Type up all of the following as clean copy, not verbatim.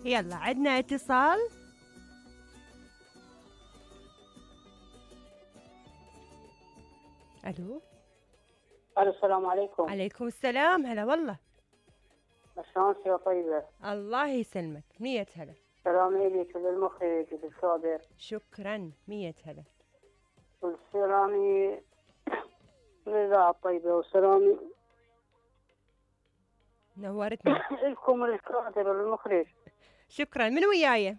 يلا عندنا اتصال. الو. الو السلام عليكم. عليكم السلام، هلا والله. شلونك يا طيبة؟ الله يسلمك، 100 هلا. سلامي لك وللمخرج وللصابر. شكرا، 100 هلا. والسلامي للإذاعة الطيبة، والسلامي نورتنا. لكم الكاتب والمخرج. شكرا. من وياي؟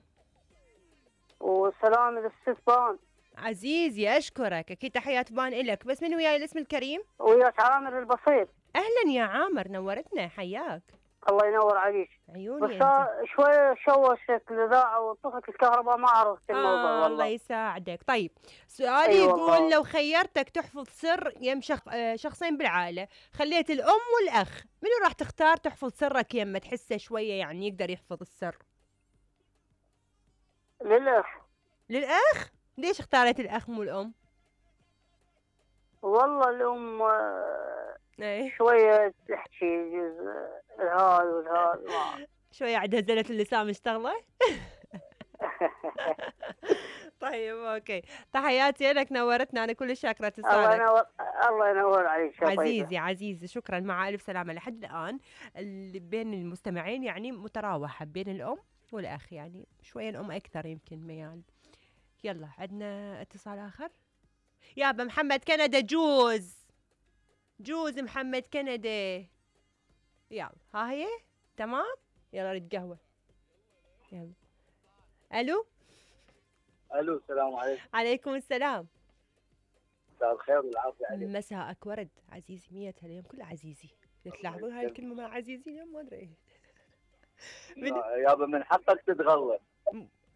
والسلام للست بان. عزيزي أشكرك، أكيد تحيات بان إلك، بس من وياي الاسم الكريم؟ وياك عامر البصير. أهلا يا عامر، نورتنا، حياك. الله ينور عليك. عيوني بس أنت. شوية شوشت الإذاعة وطفت الكهرباء، ما عرفت الموضوع والله. الله يساعدك. طيب سؤالي أيوة يقول والله. لو خيرتك تحفظ سر يم شخصين بالعائلة، خليت الأم والأخ، منو راح تختار تحفظ سرك يمه تحسه شوية يعني يقدر يحفظ السر؟ للأخ. للأخ؟ ليش اختارت الأخ مو الأم؟ والله الأم ايه شوية تحكي جزء الهذا والهذا شوية عندها زلة اللسان مشتغلة. طيب اوكي، تحياتي لك، نورتنا، انا كل شاكرة اتصالك. الله ينور عليك يا عزيزي عزيزي، شكرا، مع الف سلامة. لحد الان اللي بين المستمعين يعني متراوحة بين الام والاخ، يعني شوية الام اكثر يمكن ميال. يلا عندنا اتصال اخر. يابا محمد كندا، جوز محمد كندا. يلا ها هي تمام. يلا ريد قهوة. يلا. الو. السلام عليكم. عليكم السلام. مساء الخير والعافيه عليك. مساءك ورد عزيزي، 100 اليوم كله عزيزي. تلاحظون هاي الكلمة مع عزيزي اليوم ما ادري. يابا من حقك تتغلط.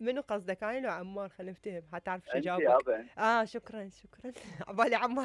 منو قصدك، انا لو عمار؟ خلينا نفتهم حتى تعرف شو انت جاوبك. يابا. شكرا عبالي عمار.